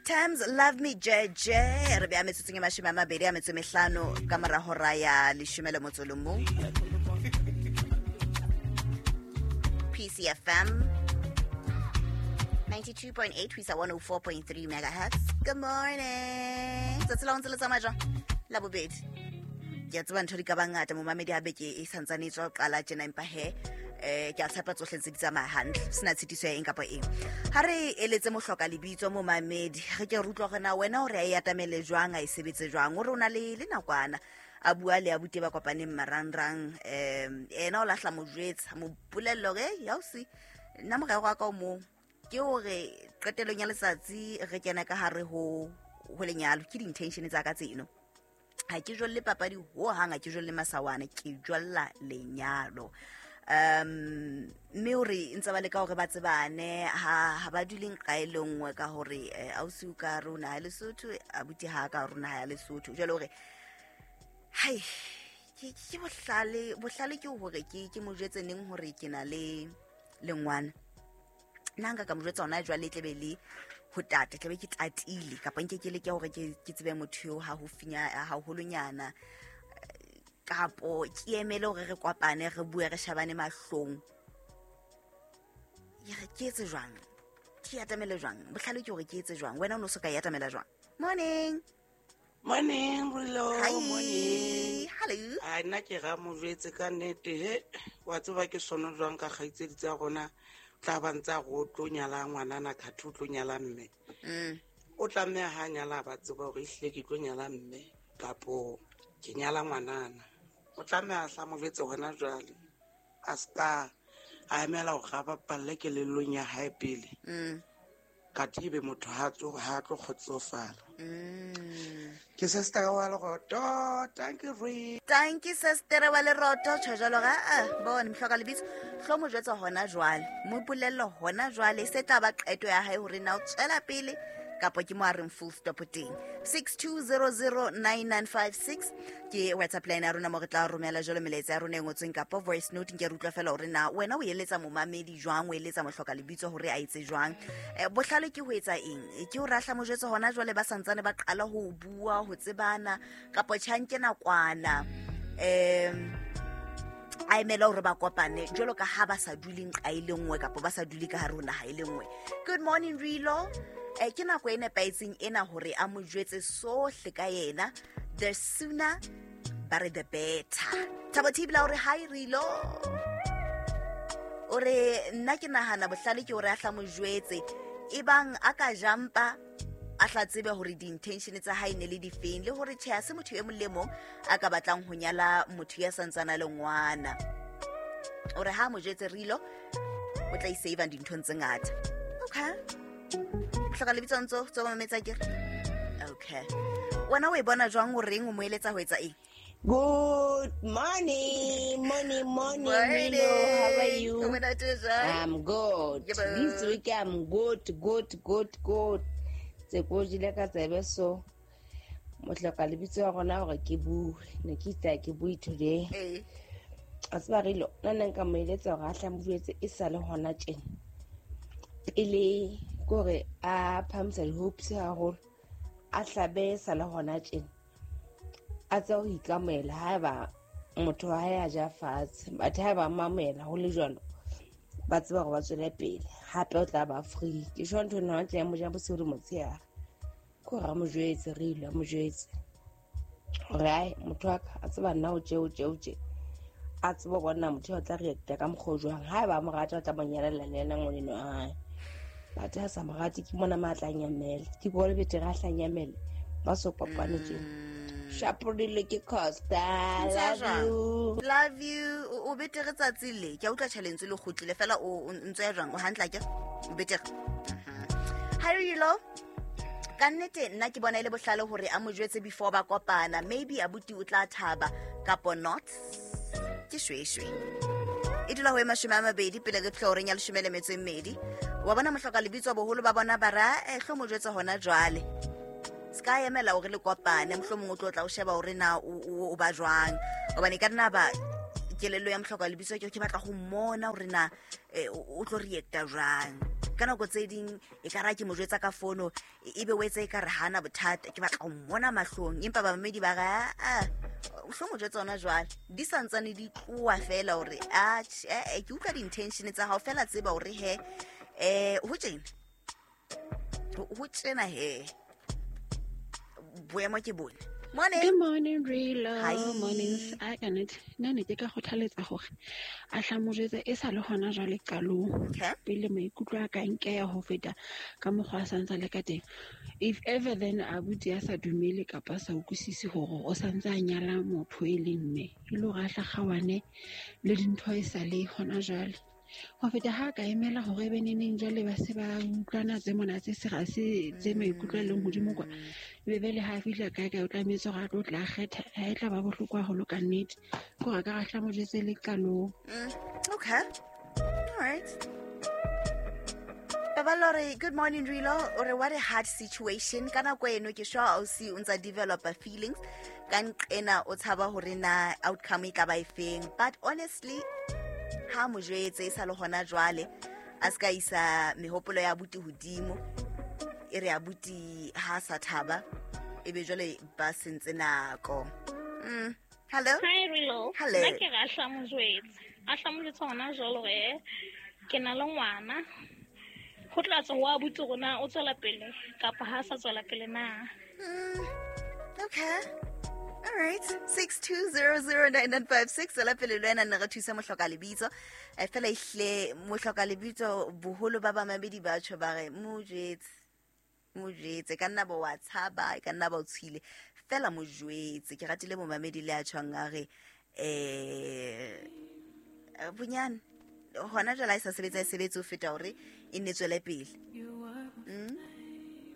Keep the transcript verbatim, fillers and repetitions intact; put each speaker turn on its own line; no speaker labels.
Tams Love Me J J. Re beya metsotsong e mashome a mabedi a metso e mehlano ka mora hora ya leshome le motso le mong. P C F M ninety-two point eight ho isa one oh four point three megahertz. Good morning. Tsatsi la ho ntse le tsamaya jwang? La bobedi. Ke a tseba ntho di ka ba ngata momamedi ha beke e santsane e tswa ho qala tjena, empa he eh ke a tshepa tsohle ntse di tsamaya hantle, sena tshitiso ya eng kapa eng. Ha re eletse mohloka lebitso momamedi, re ke re utlwa hore na wena hore a e atamele jwang, a e sebetse jwang. O re o na le le nakwana a bua le abuti ba kopaneng marangrang, um ena o lahla mo jwetsa, mo bolella hore ya ausi, nna morero wa ka o mong ke hore qetelong ya letsatsi re kena ka hare ho ho lenyalo. Ke di-intention tsa ka tseno, ha ke jolle papadi hohang, ha ke jolle masawana, ke jolla lenyalo. um mme hore ntse ba leka hore ba tsebane, ha ha ba dule nqa e le nngwe, ka hore eh, ausi o ka rona ha Lesotho, abuti ha ka rona ha ya Lesotho. Jwale hore hai ke ke bohlale bohlale ke hore ke ke mo jwetse neng hore ke na le le ngwana. Nna nka ka mo jwetsa hona jwale, e tlebe le ho tata, tlabe ke tatile, kapa nke ke leke hore ke ke tsebe motho eo ha ho finya haholonyana, kapo ke emele hore re kopane, re bue, re shabane mahlong. Ya re ke etse jwang, ke atamele jwang? Bohlale ke hore ke etse jwang? Wena o no so ka e atamela jwang? Morning.
Morning, Brulo.
Hi.
Morning.
Hello.
A nna ke ra mo jwetse ka nnete he wa tseba ke sono jwang ka kgaitsedi tsa rona, tla ba ntse a re o tlo nyala ngwanana, khathe o tlo nyala mme.
Mm.
O tlameha ha nyala ba tseba hore ehlile ke tlo nyala mme kapo ke nyala ngwanana. O tlameha hla mo jwetse hona jwale. A ska a emela hore a bapalle kelellong ya hae pele.
Mm.
Kathe ebe motho ha tlo ha tlo kgotsofala.
Mm.
Ke sister wa Leroto, thank you re.
Thank you, sister wa Leroto. Tjho jwalo ga ah bone mohloka lebitso, hlo mo jwetsa hona jwale, mo bolelle hona jwale, se tla ba qeto ya hae hore na o tswela pele kapa ke mo a reng full stop teng. six two zero zero nine nine five six ke WhatsApp line ya rona mo re tla romela jalo melaetsa ya rona e ngotsweng kapa voice note. Nke re utlwa fela hore na wena o eletsa momamedi jwang, o eletsa mohloka lebitso hore a etse jwang. Eh, bohlale ke ho etsa eng? Ke ho rahla mo jwetse hona jwale ba santsane ba qala ho bua, ho tsebana, kapa tjhanke nakwana um a emela hore ba kopane jwalo ka ha ba sa dule nqa e le nngwe kapa ba sa dule ka hare ho naha e le nngwe? Good morning, Rilo. eh, ke nako e nepahetseng ena hore a mo jwetse sohle ka yena. The sooner ba re the better. Thabo Thibela hore hi Rilo, o re nna ke nahana bohlale ke hore a hla mo jwetse, ebang a ka jampa a tla tsebe hore di-intention tsa hae ne le difeng, le hore tjhe, ha se motho e mong le mong a ka batlang ho nyala motho ya santsana le ngwana. O re ha mo jwetse Rilo, o tla isave dinthong tse ngata. Okay, hloka lebitso ntso tso mametsa ke re okay, wena o e bona jwang? O reng? O mo eletsa ho etsa eng?
Good morning, morning, morning, Milo. How are you?
O monate jwang?
I'm good.
Yebo.
This week I'm good, good, good, good. Tse ko jile ka tsebe so. Mohloka lebitso ya rona hore ke bue. Ne ke itse ha ke bue today.
Ee.
A tseba Rilo, nna ne nka mo eletsa hore a hle a mo jwetse e sa le hona tjena. Pele kore a phahamisa di-hopes haholo, a hlabe e sa le hona tjena. A tsebe ho ikamohela haeba motho wa hae a ja fatshe, but haeba a mamela ho le jwalo, ba tseba hore ba tswele pele. Hape o tla ba free. Ke sure ntho ena tla mo ja bosiu le motshehare. Ke hore a mo jwetse Rilo, a mo jwetse hore ai motho wa ka, a tseba nna o tje, o tje, o tje. A tsebe ho bona motho o tla react-a ka mokgwa o jwang. Haeba a mo rata, o tla mo nyalella le yena ngwaneno wa hae. But ha sa mo rate, ke mona ma tla nyamela. Ke bone betere a hla nyamele ba so kopane tjena. Shaporile ke Costa.
Ntse
Love
jwang?
you.
Love you. O o betere tsatsi le ke a utlwa tjhalentswe le kgutlile fela, o o ntso ya jwang? O hantle akere? O betere. Hi Rilo, ka nnete nna ke bona e le bohlale hore a mo jwetse before ba kopana. Maybe abuti o tla thaba kapo not. Ke shweshwe e dula ho e mashome a mabedi pele re fihla horeng ya leshome le metso e mmedi. Wa bona mohloka lebitso, boholo ba bona ba ra eh hlo mo jwetse hona jwale, se ka emela hore le kopane, mohlomong o tlo tla o sheba hore na o o- o ba jwang, hobane e ka nna ba Kelello ya mohloka lebitso ke ke batla go mmona hore na o tlo reacta jwang. Ka nako tse ding e ka ra ke mo jwetsa ka fono e be o etsa e ka re hana bothata, ke batla go mmona mahlong, empa bamamedi ba ga a o hlo mo jwetsa ona jwale di santsane di tloa fela hore a ke utlwa di-intention tsa hao fela, tseba hore he eh ho tjena ho tjena he boemo ke bone. Morning.
Good morning, Rilo. Morning. I can it. Nna ne ke ka kgothaletsa hore a hla mo jwetse e sa le hona jwale qalong. Pele maikutlo a ka nkeya ho feta ka mokgwa a santsa le ka teng. If ever then abuti a sa dumele kapa sa utlwisise hore o santse a nyala motho e leng mme, e le hore a hla kgawane le dintho e sa le hona jwale. Ho feta ha ka emela hore be neneng jwale ba se ba utlwana tse mona tse se se tse maikutlo a leng hodimo kwa, be be le ha fihla kae kae o tlametse hore a tlo tla kgetha, ha e tla ba bohloko haholo ka nnete. Ke hore ka ra mo jwetse le qalong.
Okay, all right. Babalore, good morning Rilo. Ore what a hard situation. Ka nako eno ke sure ausi o ntsa develop feelings ka nqena o tshaba hore na outcome e ka ba efeng, but honestly ha mo jwetse e sa le hona jwale a ska isa mehopolo ya abuti hodimo, e re abuti ha sa thaba e be jwale ba sentse nako. Mm. Hello.
Hi Rilo.
Hello.
Nna ke ra hla mo jwetse. A hla mo jwetse hona jwale hore ke na le ngwana. Ho tla tswa ho abuti rona o tswela pele kapa ha sa tswela pele na.
Mm. Okay. All right, six two zero zero nine nine five six. Tswela pele le wena nne re thusa mohloka lebitso. E fela ehle mohloka lebitso boholo ba bamamedi ba tjho ba re mo jwetse, mo jwetse ka nna bo wa tshaba, ka nna ba o tshwile fela mo jwetse. Ke ratile momamedi le a tjhong a re eh bonyane hona jwale ha e sa sebetsa e sebetse ho feta hore e nne tswele pele.